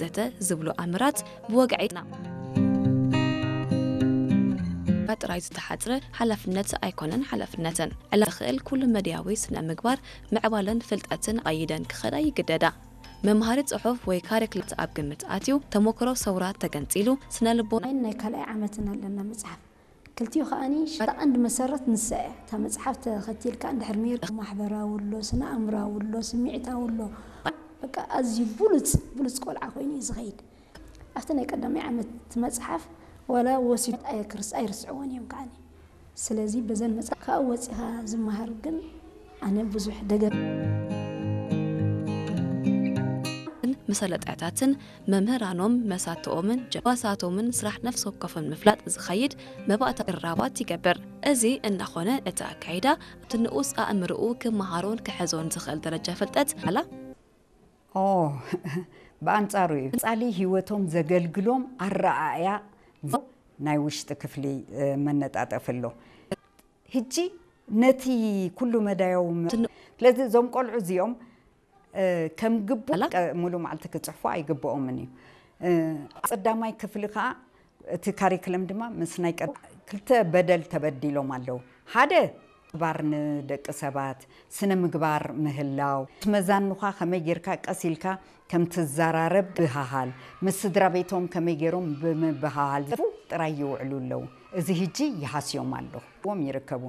ዘተ ዝብሉ ኣምራት ብወግዒ ጥራይ ዝተሓጽረ ሓላፍነት ኣይኮነን። ሓላፍነትን ዕላ ዝኽእል ኩሉ መድያዊ ስነ ምግባር ምዕባለን ፍልጠትን ኣይደን ክኸዳ ይግደዳ። መምሃሪ ጽሑፍ ወይ ካሪክላት ኣብ ግምት ኣትዩ፣ ተሞክሮ ሰውራ ተገንጺሉ፣ ስነ ልቦና ናይ ካልኣይ ዓመትን ኣለና መጽሓፍ። ክልቲኡ ከኣኒ ሽታ ቀንዲ መሰረት ንሳ እያ። እታ መጽሓፍ ተኸቲልካ እንድሕር ሜር ማሕበራዊ ኣሎ፣ ስነ ኣእምራዊ ኣሎ፣ ስምዒታዊ ኣሎ። በቃ ኣዝዩ ብሉጽ ብሉጽ ቆልዓ ኮይኑ እዩ ዝኸይድ። ኣብቲ ናይ ቀዳማይ ዓመት መጽሓፍ ዋላ ወሲዱ ኣየክርስ ኣይርስዕዎን እዮም ከዓኒ። ስለዚ በዘን መጽሓፍ ካብኡ ወጺኻ ዝመሃር ግን ኣነ ብዙሕ ደገፍ መሰለጥያታትን መምህራኖም መሳትኦምን ጀዋሳቶምን ስራሕ ነፍሲ ወከፎም ምፍላጥ ዝኸይድ መባእታ ርራባት ይገብር። እዚ እናኾነ እቲ ኣካይዳ ኣብቲ ንኡስ ኣእምርኡ ክመሃሮን ክሕዞን ዝኽእል ደረጃ ፍልጠት ኣላ። ኦ ብኣንጻሩ እዩ ጻሊ ህይወቶም ዘገልግሎም ኣረኣእያ ናይ ውሽጢ ክፍሊ መነጣጠፍ ኣሎ። ህጂ ነቲ ኩሉ መዳያዊ ስለዚ እዞም ቆልዑ እዚኦም ከም ግቡ ሙሉ መዓልቲ ክፅሕፉ ኣይግብኦምን እዩ። ቀዳማይ ክፍሊ ከዓ እቲ ካሪክለም ድማ ምስ ናይ ክልተ በደል ተበዲሎም ኣለዉ። ሓደ ምግባር ንደቂ ሰባት ስነ ምግባር ምህላው፣ መዛኑኻ ከመይ ጌርካ ቀስ ኢልካ ከም ትዘራረብ ብሃሃል፣ ምስ ስድራ ቤቶም ከመይ ገይሮም ብምብሃሃል ጥራይ ይውዕሉ ኣለዉ። እዚ ህጂ ይሃስዮም ኣለኹ ዎም ይርከቡ።